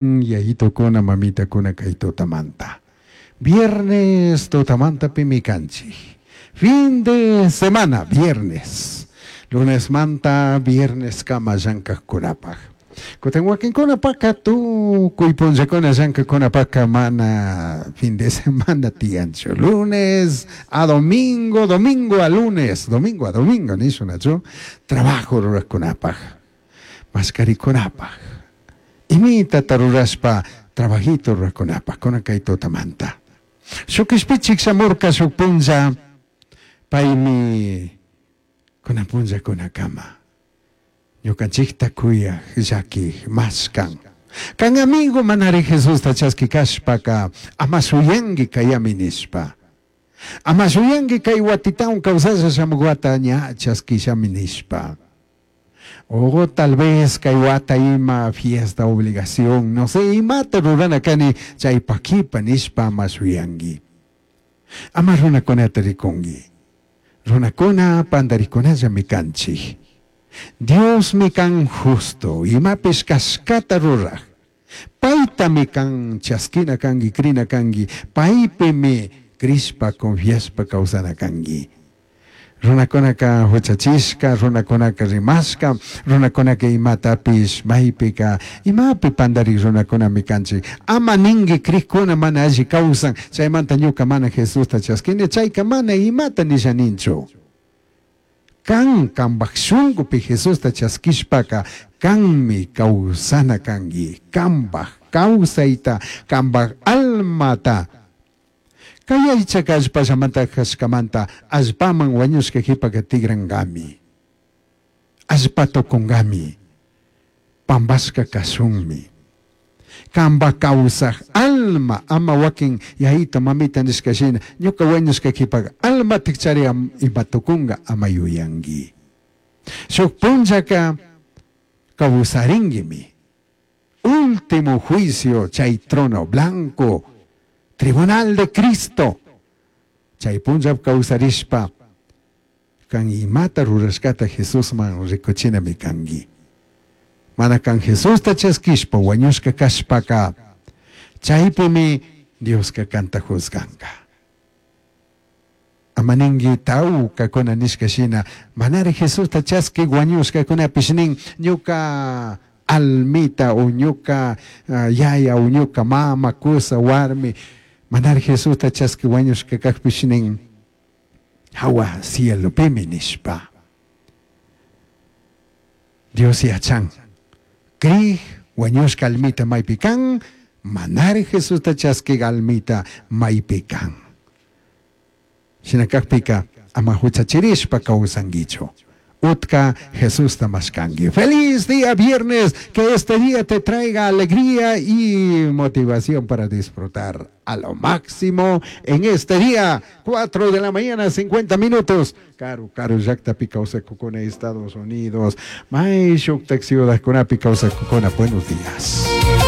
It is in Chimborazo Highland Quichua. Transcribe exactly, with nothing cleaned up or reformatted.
Yayitukuna, mamitakuna kay tutamanta. Viernes tutamantapimi kanchik. Fin de semana, viernes. Lunesmanta vierneskama llank'aqkunapaq. Kutin wakinkunapaqqa tukuy punllakuna llank'aqkunapaqqa mana fin de semana tiyanchu. Lunes a domingo, domingo a lunes, domingo a domingo nishunachu trabajo ruraqkunapaq, mashkarikunapaq. Imitata rurashpa trabajito ruraqkunapaq kunan kay tutamanta. Shuk kishpichik shamurka shuk punlla paymi kunan punllakunakama ñukanchikta kuyaq llakik mashkan. Kan amigo manari Jesusta chaskikashpaka ama shuyanki kayami nishpa. Ama shuyanki kay watitawan kawsasha shamuk wata ña chaskishami nishpa. O tal vez kay wata ima fiesta obligación, no sé, imata rurana kani chaypaq kipa nishpa ama shuyanki. Ama runakunata rikunki. Runakuna pantarikunallami kanchik. Diosmi kan justo, imapish kashkata ruraj. Paytami kan chaskina kanki, krina kanki, paypimi crishpa, confiashpa kawsana kanki. Runakunaka huchachishka, runakunaka rimashka, runakunaka imatapish maypika, imapi pantarik runakunami kanchik. Ama ninki krikuna mana alli kawsan, chaymanta ñuka mana Jesusta chaskini, chayka mana imata nisha ninchu. Kan kanpak shunkupi Jesusta chaskishpaka kanmi kawsana kanki, kanpak kawsayta, kanpak almata. Kay aychaka allpallamanta kashkamanta allpaman wañushka qhipaka tikrankami. Allpa tukunkami. Pampashka kashunmi. Kanpak kawsaj alma ama wakin yayita mamita nishka shina ñuka wañushka qhipaka alma tikchari ima tukunka ama yuyanki. Shuk punllaka kawsarinkimi. Último juicio chay trono blanco, tribunal de Cristo. Chay punlla kawsarishpa kan imata rurashkata Jesusman rikuchinami kanki. Mana kan Jesusta chaskishpa wañushka kashpaka chaypimi Dioska kanta juzganka. Ama ninki tawkakuna nishka shina manari Jesusta chaski wañushkakunapish nin ñuka almita o ñuka uh, yaya o ñuka mama, kusa, warmi manari Jesusta chaski wañushka kakpish nin hawa cielopimi nishpa. Dios yachan. Krij wañushka almita maypi kan, manari Jesusta chaski almita maypi kan. Shina kakpika ama huchachirishpa kawsankichu. Utka Jesusta mashkanki. Feliz día viernes, que este día te traiga alegría y motivación para disfrutar a lo máximo en este día, cuatro de la mañana, cincuenta minutos. Karu, karu, llaktapi kawsakukuna, Estados Unidos. May shuktak ciudadkunapi kawsakukuna. Buenos días.